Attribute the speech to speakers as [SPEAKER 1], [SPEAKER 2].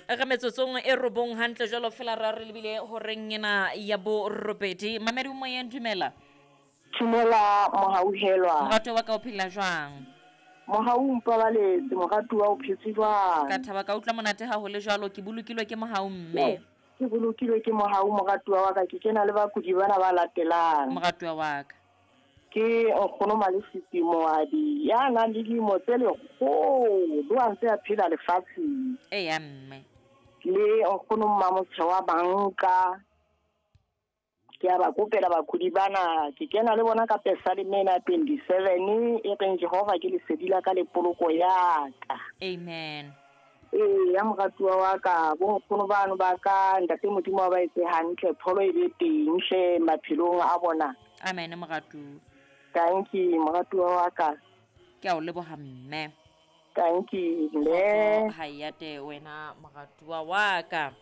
[SPEAKER 1] Re metsotsong e robong hantle jwalo fela ra re lebile horeng ena ya borobedi. Mamedi o moyeng, dumela.
[SPEAKER 2] Dumela mohauhelwa.
[SPEAKER 1] Moratuwa wa ka o phela jwang?
[SPEAKER 2] Mohau o mpabaletse, moratuwa o phetse jwang?
[SPEAKER 1] Ka thaba ka utlwa monate ha ho le jwalo, ke bolokilwe ke mohau mme.
[SPEAKER 2] Ke bolokilwe ke mohau moratuwa wa ka, ke kena le bakudi bana ba latelang.
[SPEAKER 1] Moratuwa wa ka.
[SPEAKER 2] Ke nkgono Malefisi Moabi ya nang le dilemo tse lekgolo a ntse a phela lefatsheng.
[SPEAKER 1] Eya mme.
[SPEAKER 2] Le nkgono Mmamotsheo wa banka. Ke a ba kopela bakudi bana, ke kena le bona ka Pesaleme ena 27 e reng Jehova ke lesedi la ka le poloko ya ka.
[SPEAKER 1] Amen.
[SPEAKER 2] Ee, ya moratuwa wa ka, bonkgono bano ba ka, ntate Modimo wa ba etse hantle, pholo e be teng hle maphelong a bona.
[SPEAKER 1] Amen moratuwa.
[SPEAKER 2] Thank you moratuwa wa ka.
[SPEAKER 1] Ke a o leboha mme.
[SPEAKER 2] Thank you mme.
[SPEAKER 1] Ha e ate wena moratuwa wa ka.